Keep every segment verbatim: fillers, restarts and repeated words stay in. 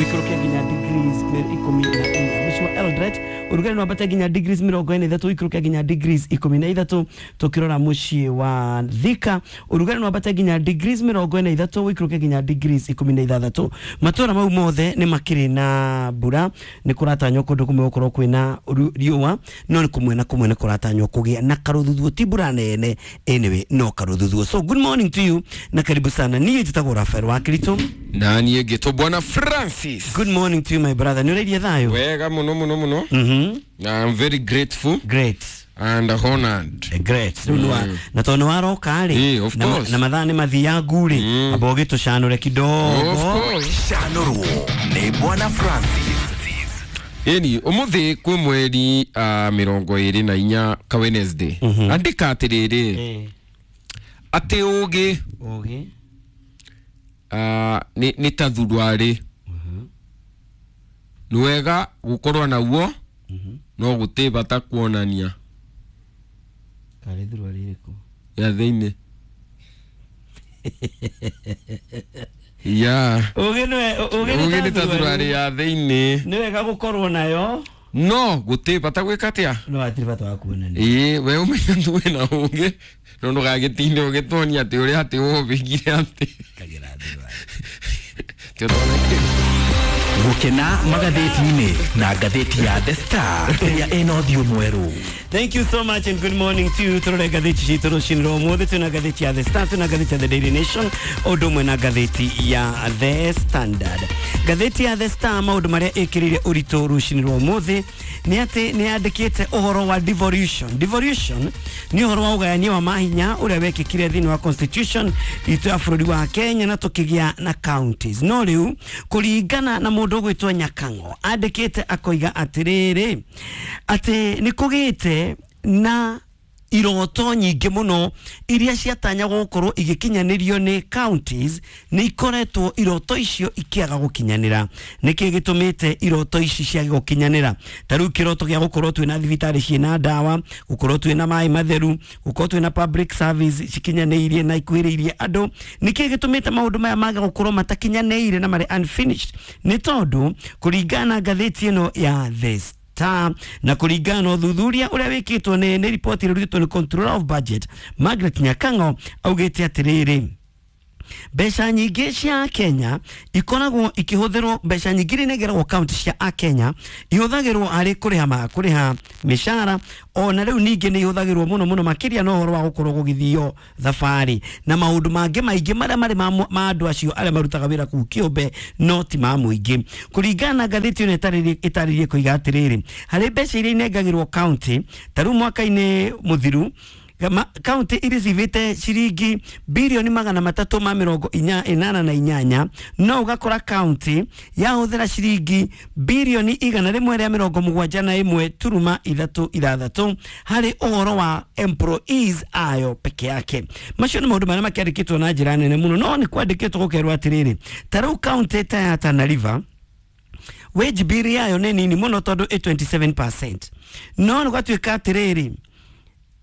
Wikũrũke nginya degrees ikũmi na inya. Mũciĩ wa Eldoret ũrugarĩ no wambate nginya degrees mĩrongo ĩna ithatũ, wikũrũke nginya degrees ikũmi na ithatũ. Tũkĩrora mũciĩ wa Thika ũrugarĩ no wambate nginya degrees mĩrongo ĩna ithatũ, wikũrũke nginya degrees ikũmi na ithathatũ. Matũra mau mothe nĩ makĩrĩ na mbura, nĩ kũratanywo kũndũ kũmwe gũkorwo kwĩna riũa, no nĩ kũmwe na kũmwe nĩ kũratanywo kũgĩa na karũthuthuo, ti mbura nene anyway, no karũthuthuo. So good morning to you na karibu sana. Niĩ njĩtagwo Rafael wa Kirito. Na niĩ ngĩtwo Bwana Francis. Good morning to you my brother. Nĩ ũrairie thayũ? Wega mũno mũno mũno. Mhm. I'm very grateful. Great. And honored. Great. Rĩu mm. Na tondũ nĩ waroka rĩ, of course, na mathaa nĩ mathiangu rĩ, mm. amba ũgĩtũcanũre kidogo. Of course. Canũrwo nĩ Bwana Francis. Ĩni ũmũthĩ kwĩ mweri uh, mĩrongo ĩrĩ na inya ka Wednesday. Mm -hmm. Andĩka atĩrĩrĩ, Eh. atĩ ũgĩ Ũgĩ uh, nĩ, nĩ ta thuruarĩ. Mm -hmm. Nĩ wega gũkorwo naguo, mm -hmm. no gũtĩ bata kuonania. Karĩ thuruarĩ ĩrĩkũ? Ya thĩinĩ. Ya. Ũgĩ nĩ ũgĩ nĩ ta thuruarĩ ya thĩinĩ. Nĩ wega gũkorwo nayo, no gũtĩ bata gwĩka atĩa? No hatirĩ bata wa kuonania. Ĩĩ, we ũmenya tu wĩna ũgĩ, no ndũgagĩtinde ũgĩtuonia atĩ ũrĩa atĩ ũhũthĩkire atĩ. Kagĩra thuruarĩ. Gũkena magathĩti-inĩ na ngathĩti ya The Star ĩrĩa ĩna ũthiũ mwerũ. Thank you so much and good morning to you. Tũrore ngathĩti citũ rũcinĩ rwa ũmũthĩ. Twĩna ngathĩti ya The Star, twĩna ngathĩti ya The Daily Nation, ũndũ ũmwe na ngathĩti ya The Standard. Ngathĩti ya The Star maũndũ marĩa ĩkĩrĩire ũritũ rũcinĩ rwa ũmũthĩ nĩ atĩ nĩ yandĩkĩte ũhoro wa devolution. Devolution nĩ ũhoro wa ũgayania wa mahinya ũrĩa wekĩkire thĩinĩ wa constitution itũ ya bũrũri wa Kenya na tũkĩgĩa na counties. No rĩu kũringana na mũndũ ũgwĩtwo Nyakang'o andĩkĩte akoiga atĩrĩrĩ, atĩ nĩ kũgĩte na iroto nyingĩ mũno iria ciatanyagwo gũkorwo igĩkinyanĩrio nĩ counties, nĩ ikoretwo iroto icio ikĩaga gũkinyanĩra. Nĩkĩ gĩtũmĩte iroto ici ciage gũkinyanĩra? Ta rĩu kĩroto gĩa gũkorwo twĩna thibitarĩ ciĩna ndawa, gũkorwo twĩna maĩ matheru, gũkorwo twĩna public service cikinyanĩirie na ikuhĩrĩirie andũ. Nĩkĩ gĩtũmĩte maũndũ maya mage gũkorwo matakinyanĩire na marĩ unfinished? Nĩ tondũ kũringana na ngathĩti ĩno ya The Star na kũringana na ũthuthuria ũrĩa wĩkĩtwo nĩ nĩ riboti ĩrĩa ĩrutĩtwo nĩ Controller of Budget Margaret Nyakang'o augĩte atĩrĩrĩ, mbeca nyingĩ cia Kenya ikoragwo ikĩhũthĩrwo, mbeca nyingĩ iria inengeragwo county cia a Kenya ihũthagĩrwo harĩ kũrĩha ma kũrĩha mĩcara, ona rĩu ningĩ nĩ ihũthagĩrwo mũno mũno makĩria na ũhoro wa gũkorwo gũgĩthio thabarĩ na maũndũ mangĩ maingĩ marĩa marĩ ma andũ acio arĩa marutaga wĩra kũu kĩũmbe, no ti ma mũingĩ. Kũringana na ngathĩti ĩno ĩtarĩrie kũiga atĩrĩrĩ, harĩ mbeca iria inengagĩrwo county ta rĩu mwaka-inĩ mũthiru county irecivĩte ciringi bilioni magana matatũ ma mĩrongo inya ĩnana na inyanya, no ũgakora county yahũthĩra ciringi bilioni igana rĩmwe rĩa mĩrongo mũgwanja na ĩmwe turuma ithatũ ithathatũ harĩ ũhoro wa employees ayo peke yake. Macio nĩ maũndũ marĩa makĩandĩkĩtwo na njĩra nene mũno, no nĩ kwandĩkĩtwo gũkerwo atĩrĩrĩ, ta rĩu county ta ya Tana River wage bill yayo nĩ nini mũno tondũ ĩ twenty-seven percent, no nĩ gwatuĩka atĩrĩrĩ,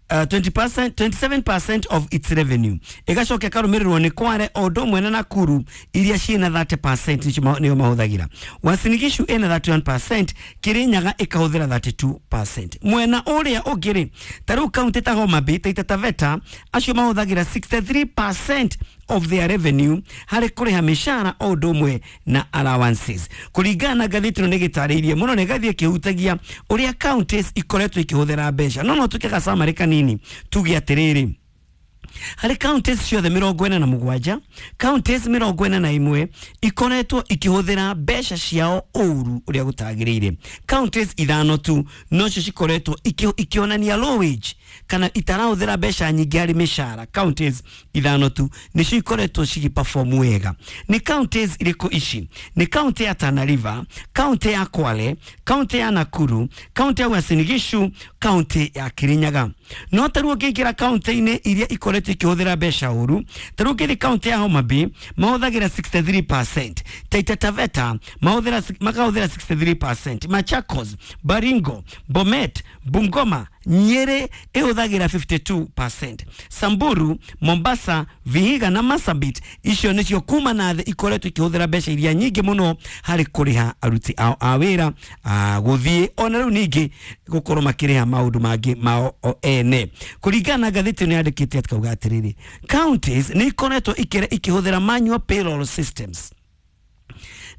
Uh, twenty percent, twenty-seven percent of its revenue ĩgacoka ĩkarũmĩrĩrwo nĩ Kware o ũndũ ũmwe na Nakuru iria ciĩna thirty percent nĩo mahũthagĩra. Uasin Gishu ĩna thirty-one percent, Kirinyaga ĩkahũthĩra thirty-two percent. Mwena ũrĩa ũngĩ rĩ, ta rĩu county ta Homa Bay, Taita Taveta, acio mahũthagĩra sixty-three percent of their revenue harĩ kũrĩha mĩcara o ũndũ ũmwe na allowances. Kũringana na ngathĩti ĩno nĩ gĩtarĩirie mũno, na ĩgathiĩ ĩkĩhutagia ũrĩa counties ikoretwo ikĩhũthĩra mbeca. No no tũke gacamarĩ kanini tuge atĩrĩrĩ, harĩ counties ciothe mĩrongo ĩna na mũgwanja, counties mĩrongo ĩna na ĩmwe ikoretwo ikĩhũthĩra mbeca ciao ũru ũrĩa gũtagĩrĩire. Counties ithano tu nocio cikoretwo ikĩonania low wage kana itarahũthĩra mbeca nyingĩ harĩ mĩcara. Counties ithano tu nĩcio ikoretwo cigĩperform wega. Nĩ counties irĩkũ ici? Nĩ county ya Tana River, county ya Kwale, county ya Nakuru, county ya Uasin Gishu, county ya Kirinyaga. No ta rĩu ũngĩingĩra county-inĩ iria ikoretwo ikĩhũthĩra mbeca ũru, ta rĩu ũngĩthiĩ county ya Homa Bay mahũthagĩra sixty-three percent, Taita Taveta mahũthĩra makahũthĩra sixty-three percent, Machakos, Baringo, Bomet, Bungoma Nyeri ĩhũthagĩra fifty two percent. Samburu, Mombasa, Vihiga na Marsabit icio nĩcio kuma na thĩ ikoretwo ikĩhũthĩra mbeca iria nyingĩ mũno harĩ kũrĩha aruti ao a wĩra, gũthiĩ ona rĩu ningĩ gũkorwo makĩrĩha maũndũ mangĩ mao o ene. Kũringana na ngathĩti ĩno yandĩkĩte atĩ atĩrĩrĩ, counties nĩ ikoretwo ikĩhũthĩra manual payroll systems,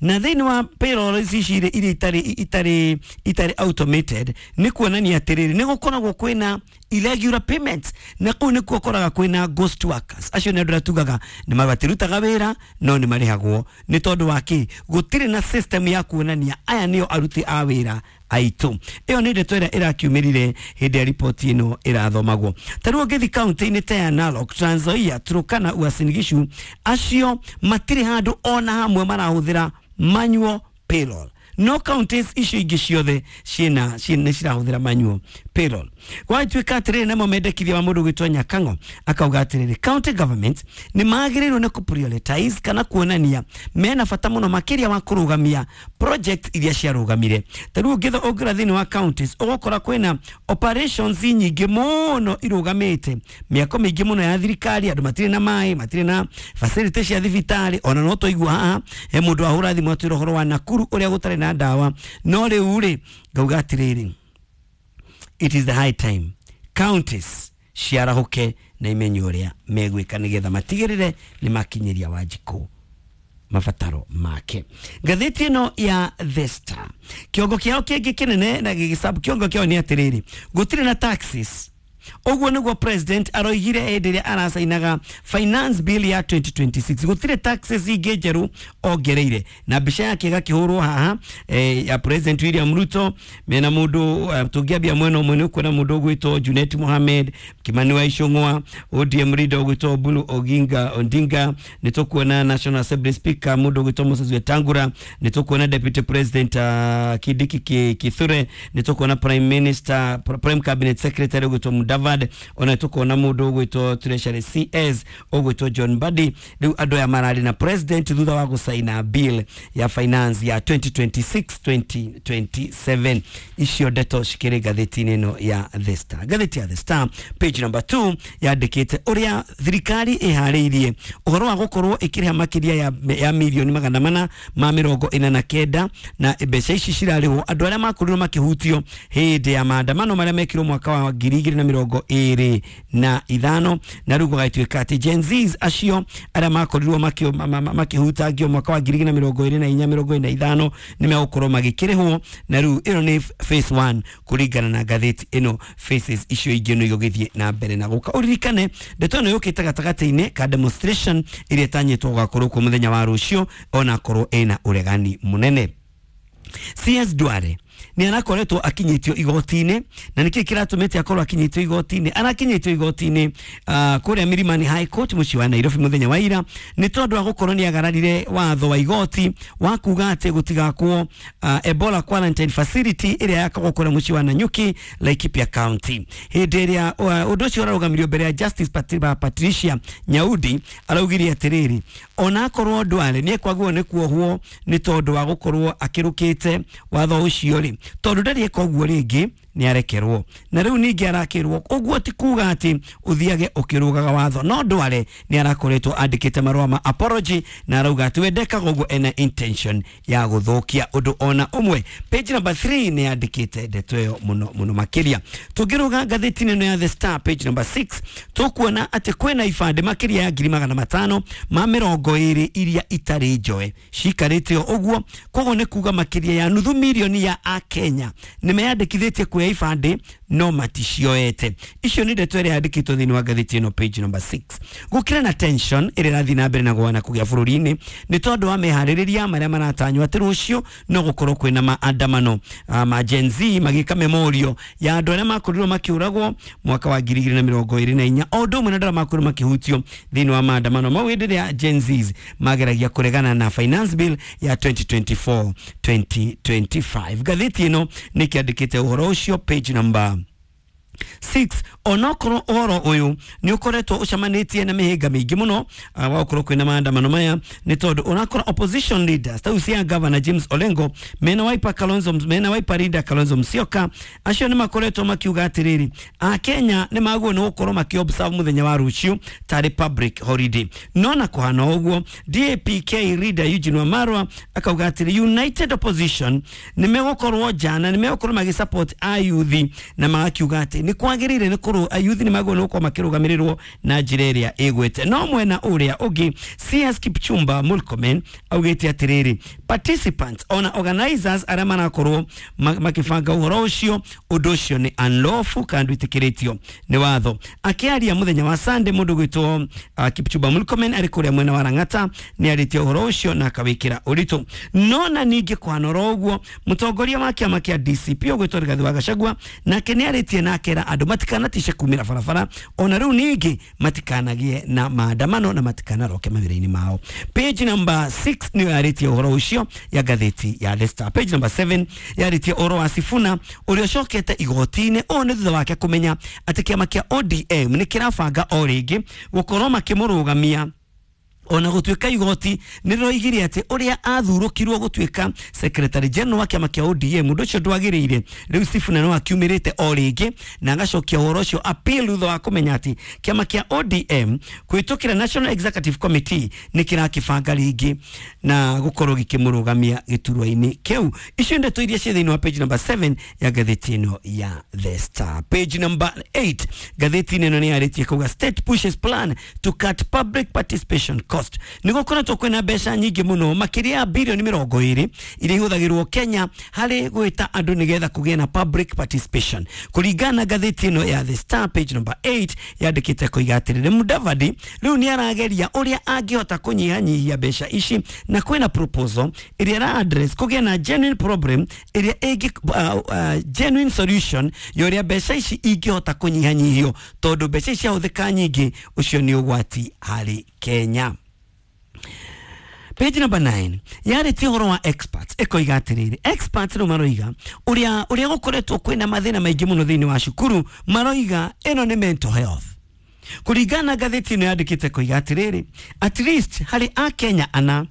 na thĩinĩ wa payroll ici iria itarĩ itarĩ itarĩ automated nĩ kuonania atĩrĩrĩ nĩ gũkoragwo kwĩna irregular payments, na kũu nĩkuo ũkoraga kwĩna ghost workers. Acio nĩ andũ arĩa tugaga nĩ matirutaga wĩra no nĩ marĩhagwo nĩ tondũ wa kĩ? Gũtirĩ na system ya kuonania aya nĩo aruti a wĩra aitũ. Ĩyo nĩ ndeto ĩrĩa ĩrakiumĩrire hĩndĩ ya riboti ĩno ĩrathomagwo. Ta rĩu ũngĩthiĩ kaunti-inĩ ta ya Narok, Trans Nzoia, Turkana, Uasin Gishu, acio matirĩ handũ ona hamwe marahũthĩra manual payroll. No counties icio ingĩ ciothe ciĩna nĩ cirahũthĩra manual payroll. Gwatuĩka atĩrĩrĩ, namo mendekithia wa mũndũ gwĩtwo Nyakang'o akauga atĩrĩrĩ, county government nĩ magĩrĩirwo nĩ kũ-prioritize kana kuonania mena bata mũno makĩria wa kũrũgamia project iria ciarũgamire. Ta rĩu ũngĩra thĩinĩ wa counties ũgũkora kwĩna operations nyingĩ mũno irũgamĩte, mĩako mĩingĩ mũno ya thirikari, andũ matirĩ na maĩ, matirĩ na facility cia thibitarĩ. Ona no twaigua haha he mũndũ ahũra thimũ atwĩra ũhoro wa Nakuru ũrĩa gũtarĩ na ndawa. No rĩu rĩ ngauga atĩrĩrĩ, it is the high time counties ciarahũke na imenye ũrĩa megwĩka nĩgetha matigĩrĩre nĩ makinyĩria Wanjikũ mabataro make. Ngathĩti ĩno ya The Star kĩongo kĩao kĩngĩ kĩnene na gĩgĩcabu kĩongo kĩao nĩ atĩrĩrĩ, gũtirĩ na taxes. Ũguo nĩguo president aroigire hĩndĩ ĩrĩa aracainaga finance bill ya twenty twenty six. Gũtirĩ taxes ingĩ njerũ ongereire, na mbica yake ĩgakĩhũrwo haha eh, ya President William Ruto mena mũndũ uh, tũngĩambia mwena ũmwe nĩ ũkuona mũndũ ũgwĩtwo Junet Mohamed, Kimani wa Ichung'wa, O D M leader ũgwĩtwo Oburu Oginga Odinga, nĩ tũkuona National Assembly Speaker mũndũ ũgwĩtwo Moses Wetangula, nĩ tũkuona Deputy President uh, Kindiki Kithure, nĩ tũkuona Prime Minister Prime Cabinet Secretary ũgwĩtwo Mudavadi, ona tukona mundu ugwitwo Treasury C S ugwitwo John Mbadi. Riu andu aya marari na president thutha wa gusaina bill ya finance ya twenty twenty six twenty twenty seven. Icio ndeto cikiri ngathĩti-inĩ ĩno ya The Star. Ngathĩti ya The Star page number two yandĩkĩte ũrĩa thirikari ĩharĩirie ũhoro wa gũkorwo ĩkĩrĩha makĩria ya, ya milioni magana mana ma mĩrongo ĩna na kenda, na mbeca ici cirarĩhwo andũ arĩa makorirwo makĩhutio hĩndĩ ya maandamano marĩa mekirwo mwaka wa ngiri igĩrĩ na mĩrongo ĩrĩ na ithano. Na rĩu gũgatuĩka atĩ Gen Zs acio arĩa makorirwo makĩhutangio mwaka wa ngiri igĩrĩ na mĩrongo ĩrĩ na inya mĩrongo ĩrĩ na ithano nĩ megũkorwo magĩkĩrĩhwo, na rĩu ĩno nĩ phase one kũringana na ngathĩti ĩno. Phases icio ingĩ no igũgĩthiĩ na mbere na gũka. Ũririkane ndeto ĩno yũkĩte gatagatĩ-inĩ ka demonstration ĩrĩa ĩtanyĩtwo gũgakorwo kuo mũthenya wa rũciũ, onakorwo ĩna ũregani mũnene. C S Duale ni arakoretwo akinyitio igoti-inĩ, na nĩkĩ kĩratũmĩte akorwo akinyitio igoti-inĩ? Arakinyitio igoti-inĩ uh, kũrĩa Milimani High Court mũciĩ wa Nairobi mũthenya wa ira, nĩ tondũ wa gũkorwo nĩ agararire watho wa igoti wa kuga atĩ gũtigakwo uh, Ebola quarantine facility ĩrĩa yakagwo kũrĩa mũciĩ wa Nanyuki, Laikipia County. Hĩndĩ ĩrĩa uh, ũndũ ũcio ũrarũgamirio mbere ya Justice Patricia Nyaudi, araugire atĩrĩrĩ, onakorwo Duale nĩ ekwagwo nĩ kuohwo nĩ tondũ wa gũkorwo akĩrũkĩte watho ũcio rĩ, tondũ ndarĩ eka ũguo rĩngĩ nĩ arekerwo. Na rĩu ningĩ arakĩrwo ũguo ti kuga atĩ ũthiage ũkĩrũgaga watho, no Duale nĩ arakoretwo andĩkĩte marũa ma apology na arauga atĩ we ndekaga ũguo ena intention ya gũthũkia ũndũ ona ũmwe. Page number three nĩ yandĩkĩte ndeto ĩyo mũno mũno makĩria. Tũngĩrũga ngathĩti-inĩ ĩno ya The Star page number six tũkuona atĩ kwĩna ibandĩ makĩria ya ngiri magana matano ma mĩrongo ĩrĩ iria itarĩ njoe cikarĩte o ũguo, koguo nĩ kuga makĩria ya nuthu milioni ya Akenya nĩ meyandĩkithĩtie kuoya ibandĩ no maticioete. Icio nĩ ndeto ĩrĩa yandĩkĩtwo thĩinĩ wa ngathĩti ĩno page number six. Gũkĩra na tension ĩrĩa ĩrathiĩ na mbere na gwana kũgĩa bũrũri-inĩ nĩ tondũ wa meharĩrĩria marĩa maratanywo atĩ rũciũ no gũkorwo kwĩna maandamano ma Gen Z magĩka memorial ya andũ arĩa makorirwo makĩũragwo mwaka wa ngiri igĩrĩ na mĩrongo ĩrĩ na inya, o ũndũ ũmwe na andũ arĩa makorirwo makĩhutio thĩinĩ wa maandamano mau hĩndĩ ĩrĩa Gen Zs mageragia kũregana na finance bill ya twenty twenty four twenty twenty five. Ngathĩti ĩno nĩ kĩandĩkĩte ũhoro ũcio page number Six, onokorwo ũhoro ũyũ nĩ ũkoretwo ũcamanĩtie na mĩhĩnga mĩingĩ mũno uh, wa gũkorwo kwĩna maandamano maya nĩ tondũ ũrakora opposition leaders ta cia Governor James Orengo mena Wiper Kalonzo mena Wiper leader Kalonzo Musyoka acio nĩ makoretwo makiuga atĩrĩrĩ Akenya nĩ magwo nĩ gũkorwo makĩ-observe mũthenya wa rũciũ tarĩ public holiday. No na kũhana ũguo D A P K leader Eugene Wamalwa akauga atĩrĩ United Opposition nĩ megũkorwo jana nĩ megũkorwo magĩsupport ayuthi na magakiuga atĩ nĩ kwagĩrĩire nĩ kũrũ ayuthi nĩ magwo nĩ gũkorwo makĩrũgamĩrĩrwo na njĩra ĩrĩa ĩgwĩte. No mwena ũrĩa ũngĩ C S Kipchumba Murkomen augĩte atĩrĩrĩ participants ona organizers arĩa marakorwo makĩbanga ũhoro ũcio ũndũ ũcio nĩ unlawful kana ndwĩtĩkĩrĩtio nĩ watho. Akĩaria mũthenya wa Sunday mũndũ gwĩtwo uh, Kipchumba Murkomen arĩ kũrĩa mwena wa Lang'ata nĩ arĩtie ũhoro ũcio na akawĩkĩra ũritũ. No na ningĩ kwanora ũguo mũtongoria wa kĩama kĩa D C P ũgwĩtwo Rigathĩ wa Gachagua nake nĩ arĩtie na akera andũ matikanatishe kumĩra barabara ona rĩu ningĩ matikanagie na maandamano na matikanaroke mawĩra-inĩ mao. Page number six nĩyo yarĩtie ũhoro ũcio ya ngathĩti ya The Star. Page number seven yarĩtie ũhoro wa Sifuna ũrĩa ũcokete igoti-inĩ ũũ nĩ thutha wake kũmenya atĩ kĩama kĩa O D M nĩ kĩrabanga o rĩngĩ gũkorwo makĩmũrũgamia ona gũtuĩka igoti nĩ rĩroigire atĩ ũrĩa athurũkirwo gũtuĩka secretary general wa kĩama kĩa O D M ũndũ ũcio ndwagĩrĩire. Rĩu Sifuna no akiumĩrĩte o rĩngĩ na agacokia ũhoro ũcio appeal thutha wa kũmenya atĩ kĩama kĩa O D M kũhĩtũkĩra National Executive Committee nĩ kĩrakĩbanga rĩngĩ na gũkorwo gĩkĩmũrũgamia gĩturwa-inĩ kĩu. Icio ndeto iria ciĩ thĩinĩ wa page number seven ya ngathĩti ĩno ya The Star. Page number eight ngathĩti ĩno nĩ yarĩtie kuga state pushes plan to cut public participation cost. Nĩ gũkoretwo kwĩna mbeca nyingĩ mũno makĩria ya bilioni mĩrongo ĩrĩ iria ihũthagĩrwo Kenya harĩ gwĩta andũ nĩgetha kũgĩe na public participation. Kũringana na ngathĩti ĩno ya The Star page number eight yandĩkĩte koiga atĩrĩrĩ Mudavadi rĩu nĩ arageria ũrĩa angĩhota kũnyihanyihia mbeca ici na kwĩna proposal ĩrĩa ĩra address kũgĩa na genuine problem ĩrĩa ĩngĩ uh, uh, genuine solution ya ũrĩa mbeca ici ingĩhota kũnyihanyihio tondũ mbeca ici ciahũthĩka nyingĩ ũcio nĩ ũgwati harĩ Kenya. Page number nine yarĩtie ũhoro wa experts ĩkoiga atĩrĩrĩ experts rĩu maroiga ũrĩa ũrĩa gũkoretwo kwĩna mathĩna maingĩ mũno thĩinĩ wa cukuru maroiga ĩno nĩ mental health. Kũringana na ngathĩti ĩno yandĩkĩte koiga atĩrĩrĩ at least harĩ Akenya ana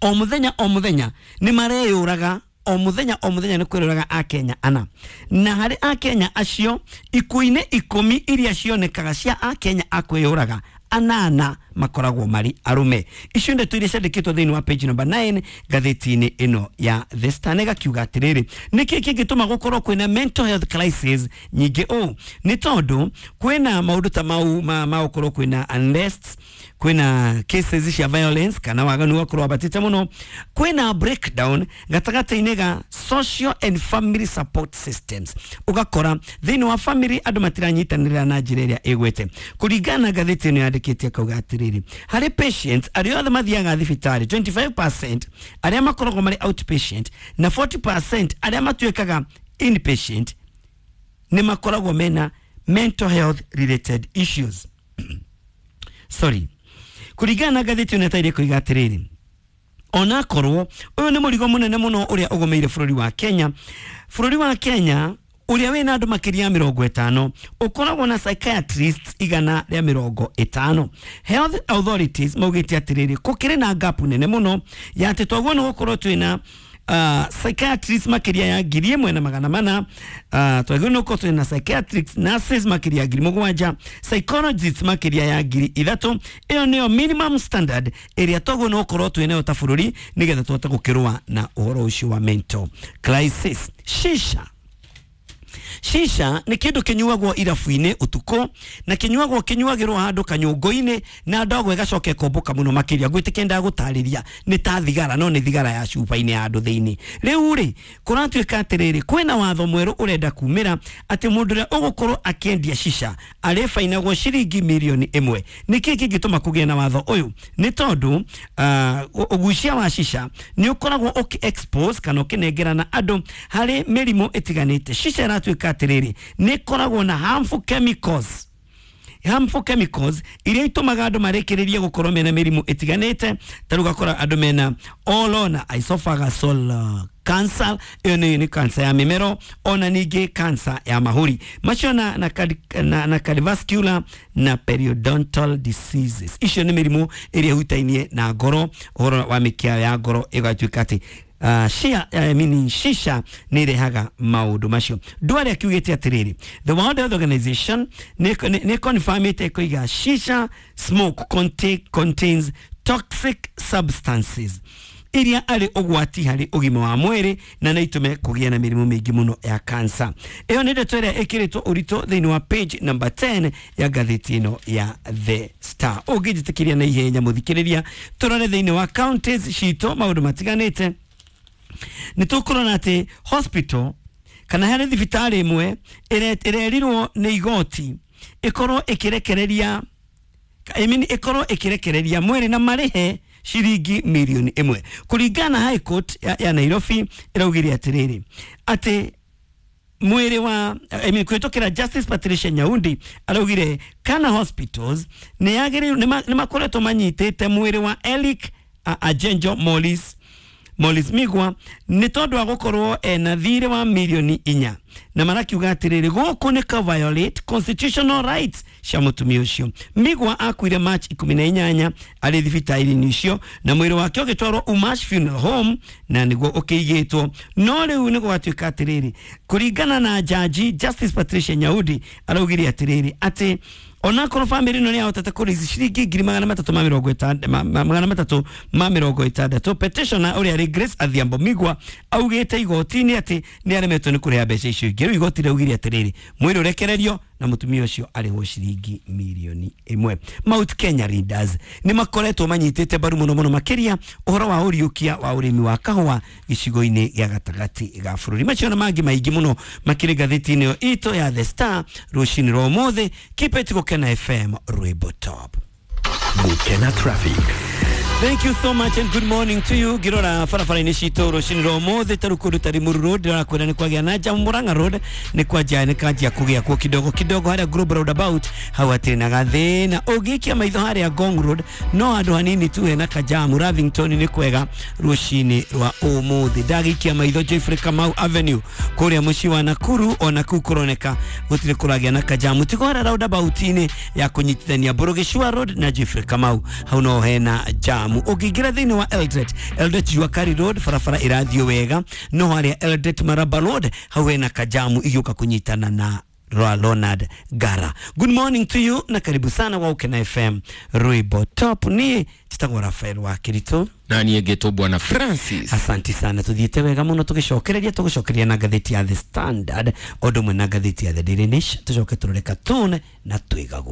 o mũthenya o mũthenya nĩ mareyũraga o mũthenya o mũthenya nĩ kwĩrũraga Akenya ana na harĩ Akenya acio ikuũ-inĩ ikũmi iria cionekaga cia Akenya a kwĩyũraga anana makoragwo marĩ arũme. Icio ndeto iria ciandĩkĩtwo thĩinĩ wa page number nine ngathĩti-inĩ ĩno ya The Star ĩgakiuga atĩrĩrĩ nĩkĩ kĩngĩtũma gũkorwo kwĩna mental health crisis nyingĩ ũũ nĩ tondũ kwĩna maũndũ ta mau ma ma gũkorwo kwĩna unrest kwĩna cases cia violence kana waganu wakorwo wabatĩte mũno kwĩna breakdown gatagatĩ-inĩ ga social and family support systems ũgakora thĩinĩ wa family andũ matiranyitanĩra na njĩra ĩrĩa ĩgwete. Kũringana na ngathĩti ĩno yandĩkĩte kauga atĩrĩrĩ harĩ patients arĩa othe mathiaga thibitarĩ twenty-five percent arĩa makoragwo marĩ outpatient na forty percent arĩa matuĩkaga inpatient nĩ makoragwo mena mental health related issues. Sorry. Kũringana na ngathĩti ĩno ĩtaire koiga atĩrĩrĩ onakorwo ũyũ nĩ mũrigo mũnene mũno ũrĩa ũgũmĩire bũrũri wa Kenya. Bũrũri wa Kenya ũrĩa wĩna andũ makĩria ya mĩrongo ĩtano ũkoragwo na psychiatrists igana rĩa mĩrongo ĩtano. Health authorities maugĩte atĩrĩrĩ gũkĩrĩ na gap nene mũno ya atĩ twaguo nĩ gũkorwo twĩna uh, psychiatrists makĩria ya ngiri ĩmwe na magana mana uh, twaguo nĩ gũkorwo twĩna psychiatrists nurses makĩria ya ngiri mũgwanja psychologists makĩria ya ngiri ithatũ. Ĩyo nĩyo minimum standard ĩrĩa twaguo nĩ gũkorwo twĩnayo ta bũrũri nĩgetha tũhote gũkĩrũa na ũhoro ũcio wa mental crisis. Shisha Shisha nĩ kĩndũ kĩnyuagwo irabu-inĩ ũtukũ na kĩnyuagwo kĩnyuagĩrwo handũ kanyũngũ-inĩ na ndogo ĩgacoka ĩkombũka mũno makĩria. Ngwĩtĩkia ndagũtarĩria nĩ ta thigara no nĩ thigara ya cuba-inĩ ya andũ thĩinĩ. Rĩu rĩ kũratuĩka atĩrĩrĩ kwĩna watho mwerũ ũrenda kumĩra atĩ mũndũ ũrĩa ũgũkorwo akĩendia shisha arĩbainagwo ciringi mirioni ĩmwe. Nĩkĩ kĩngĩtũma kũgĩe na watho ũyũ? Nĩ tondũ uh, ũgucia wa shisha nĩ ũkoragwo ũkĩ expose kana ũkĩnengerana andũ harĩ mĩrimũ ĩtiganĩte. Shisha ĩratuĩka atĩrĩrĩ nĩ ĩkoragwo na harmful chemicals harmful chemicals iria itũmaga andũ marĩkĩrĩrie gũkorwo mena mĩrimũ ĩtiganĩte ta rĩu ũgakora andũ mena oral na esophageal cancer ĩyo nĩ nĩ cancer ya mĩmero, ona ningĩ cancer ya mahũri macio na, na, cardi- na, na cardiovascular na periodontal diseases. Icio nĩ mĩrimũ ĩrĩa ĩhutainie na ngoro, ũhoro wa mĩkiha ya ngoro ĩgatuĩka atĩ uh, shia, I mean, shisha nĩ ĩrehaga maũndũ macio. Ndware akiugĩte atĩrĩrĩ, the World Health Organization nĩ nĩ confirmĩte ĩkoiga shisha smoke contain, contains toxic substances iria arĩ ũgwati harĩ ũgima wa mwĩrĩ na no itũme kũgĩa na mĩrimũ mĩingĩ mũno ya kansa. Ĩyo nĩ ndeto ĩrĩa ĩkĩrĩtwo ũritũ thĩinĩ wa page number ten ya ngathĩti ĩno ya The Star. Ũngĩnjĩtĩkĩria na ihenya mũthikĩrĩria, tũrore thĩinĩ wa counties citũ maũndũ matiganĩte. Nĩ tũkũrora atĩ hospital kana harĩ thibitarĩ ĩmwe ĩre- ĩrerirwo nĩ igoti ĩkorwo ĩkĩrekereria, I mean, ĩkorwo ĩkĩrekereria mwĩrĩ na marĩhe ciringi mirioni ĩmwe. Kũringana na High Court ya, ya Nairobi ĩraugire atĩrĩrĩ atĩ mwĩrĩ wa, I mean, kũhĩtũkĩra Justice Patricia Nyaundi araugire kana hospitals nĩ yagĩrĩirwo nĩ makoretwo manyitĩte mwĩrĩ wa Eric uh, Ajenjo Morris Morris Migwa nĩ tondũ wa gũkorwo ena thirĩ wa mirioni inya, na marakiuga atĩrĩrĩ gũkũ nĩ ka violate constitutional rights cia mũtumia ũcio. Migwa akuire March ikũmi na inyanya arĩ thibitarĩ-inĩ icio na mwĩrĩ wake ũgĩtwarwo Umash Funeral Home na nĩguo ũkĩigĩtwo. No rĩu nĩ gwatuĩka atĩrĩrĩ, kũringana na jaji Justice Patricia Nyaudi araugire atĩrĩrĩ atĩ onakorwo bamĩrĩ ĩno nĩ yahotete kũrĩici ciringi ngiri magana matatũ ma mĩrongo ĩtanda- ma- ma- magana matatũ ma mĩrongo ĩtandatũ, petitioner ũrĩa arĩ Grace Adhiambo Migwa augĩte igoti-inĩ atĩ nĩ aremetwo nĩ kũrĩha mbeca icio ingĩ. Rĩu igoti rĩaugire atĩrĩrĩ mwĩrĩ ũrekererio na mũtumia ũcio arĩhwo ciringi mirioni ĩmwe. Mount Kenya Leaders nĩ makoretwo manyitĩte mbaru mũno mũno makĩria ũhoro wa ũriũkia wa ũrĩmi wa kahũa gĩcigo-inĩ gĩa gatagatĩ ga bũrũri. Macio na mangĩ maingĩ mũno makĩrĩ ngathĩti-inĩ ĩyo itũ ya The Star rũcinĩ rwa ũmũthĩ. Keep it Gũkena F M, rwĩmbo top. Gũkena Traffic. Thank you so much and good morning to you. Ngirora barabara-inĩ citũ rũcinĩ rwa ũmũthĩ ta rĩu kũndũ ta Limuru Road ndĩrakwĩra nĩ kwagĩa na jamu. Murang'a Road nĩ kwanjia nĩ kanjia kũgĩa kuo kidogo kidogo, harĩa Global Roundabout hau hatirĩ na gathĩna. Ũngĩikia maitho harĩa Ngong Road no handũ hanini tu hena kajamu. Lavington nĩ kwega rũcinĩ rwa ũmũthĩ. Ndagĩikia maitho Geoffrey Kamau Avenue kũrĩa mũciĩ wa Nakuru, ona kũu kũroneka gũtirĩ kũragĩa na kajamu, tigo harĩa roundabout-inĩ ya kũnyitithania Burugicua Road na Geoffrey Kamau hau no hena jamu. Ũngĩingĩra thĩinĩ wa Eldoret, Eldoret Juakari Road barabara ĩrathiĩ wega, no harĩa Eldoret Maraba Road hau hena kajamu igĩũka kũnyitana na Roa Leonard Gara. Good morning to you na karibu sana wa Ukena F M rwĩmbo top. Niĩ njĩtagwo Rafael wa Kirito na niĩ ngĩtwo Bwana Francis. Asanti sana, tuthiĩte wega mũno tũgĩcokereria tũgĩcokereria na ngathĩti ya The Standard o ũndũ ũmwe na ngathĩti ya The Daily Nation, tũcoke tũrore cartoon na twĩgagũre.